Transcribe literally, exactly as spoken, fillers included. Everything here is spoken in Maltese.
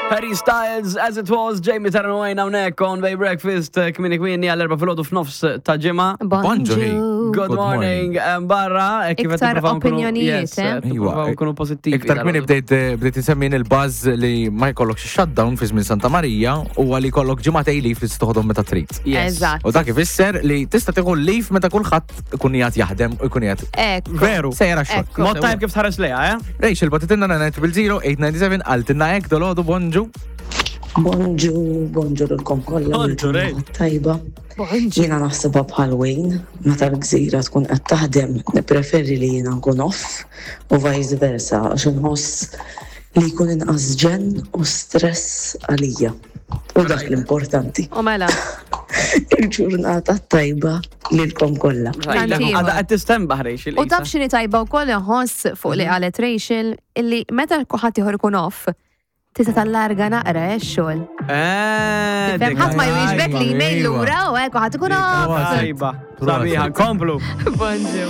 Harry Styles, As It Was, Jamie Tarano għajna unek on Bay Breakfast, eh, kmini kmini għall-erba filgħodu f'nofs ta' ġimgħa. Bonġu. Good Good morning, em, barra, eh, kif qed Iktar nippruvaw nkunu- opinjonijiet, yes, eh? eh, nippruvaw nkunu pozittivi. Iktar kmini dal-għodu. bdejt bdejt insemmin il-buzz li ma jkollokx shutdown fi żmien Santa Marija u għalli jkollok ġimgħatej leave li toħodhom meta trid. Yes. Eżatt. U dak ifisser li tista' tieħu leave meta kulħadd ikun qiegħed jaħdem u jkun qiegħed Ekku. Veru. sejra xogħol. Ekku. Mod tajb kif tħares lejha, eh? Rachel, bagħtitilna nine zero eight nine seven qaltilna hekk dalgħodu, bonġu. Bonġu, bonġu lilkom kollha. Bonġu, Ray. Tajba. Bonġu. Jiena naħsebha bħal Wayne, meta l-gżira tkun qed taħdem, nippreferi li jiena nkun off u vice versa, għax inħoss li jkun inqas ġen u stress għalija. U dak l-importanti. U mela. Il-ġurnata tajba lilkom kollha. Tanti. Għada qed tistembaħ, Rachel. U taf x'inhi tajba wkoll inħoss fuq li qalet Rachel illi meta ħadd ieħor ikun off, tista' tallarga naqra eh, x-xogħol. Eh, Fem ħadd ma jwieġbek li email Iva. lura u hekk u ħadd ikun off. Tajba. Sabiħa, komplu. Bonġu.